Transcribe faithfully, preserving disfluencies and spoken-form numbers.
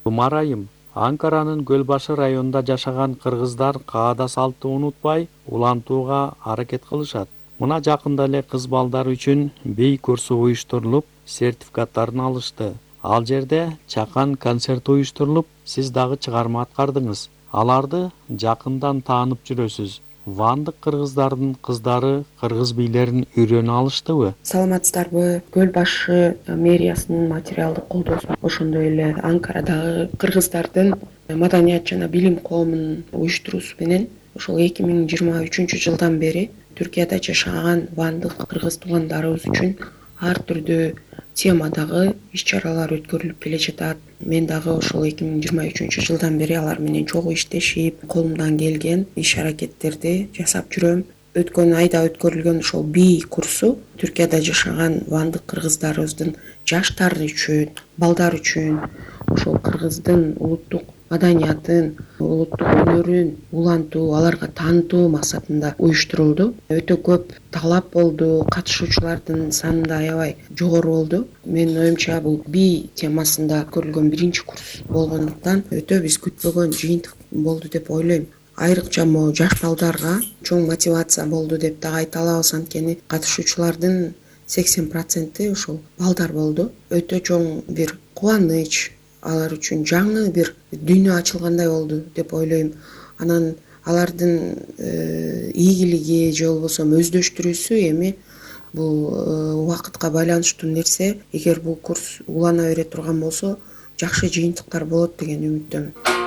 Кумарайым, Анкаранын Көл башы районунда жашаган кыргыздар каада салтты унутпай, улантууга аракет кылышат. Мына жакында эле кыз балдар үчүн бий курсу уюштурулуп, сертификаттарын алышты. Ал жерде чакан концерт уюштурулуп, сиз дагы чыгарма аткардыңыз. Аларды жакындан таанып жүрөсүз. Вандык кыргыздардын кыздары кыргыз бийлерин үйрөнө алыштыбы? Саламатсыздарбы? Көл башы мэриясынын материалдык колдоосу, ошондой эле Анкарадагы кыргыздардын маданият жана билим коомунун уюштуруусу менен ошол эки миң жыйырма үчүнчү жылдан бери Түркияда жашаган вандык кыргыз туугандарыбыз үчүн ар түрдүү темадагы иш-чаралар өткөрүлүп келе жатат. Мен дагы ошол эки миң жыйырма үчүнчү жылдан бери алар менен чогуу иштешип, колумдан келген иш-аракеттерди жасап жүрөм. Өткөн айда өткөрүлгөн ошол бий курсу Түркияда жашаган вандык кыргыздарыбыздын жаштары үчүн, балдар үчүн ошол кыргыздын улуттук маданиятын, улуттук өнөрүн улантуу, аларга таанытуу максатында уюштурулду. Өтө көп талап болду, катышуучулардын саны да аябай жогору болду. Менин оюмча бул бий темасында өткөрүлгөн биринчи курс болгондуктан өтө биз күтпөгөн жыйынтык болду деп ойлойм. Айрыкча могу жаш балдарга чоң мотивация болду деп дагы айта алабыз, анткени катышуучулардын сексен проценти ошол балдар болду. Өтө чоң бир кубаныч, алар үчүн жаңы бир дүйнө ачылгандай болду деп ойлойм. Анан алардын ийгилиги же болбосо өздөштүрүүсү эми бул убакытка байланыштуу нерсе. Эгер бул курс улана бере турган болсо, жакшы жыйынтыктар болот деген үмүттөмүн.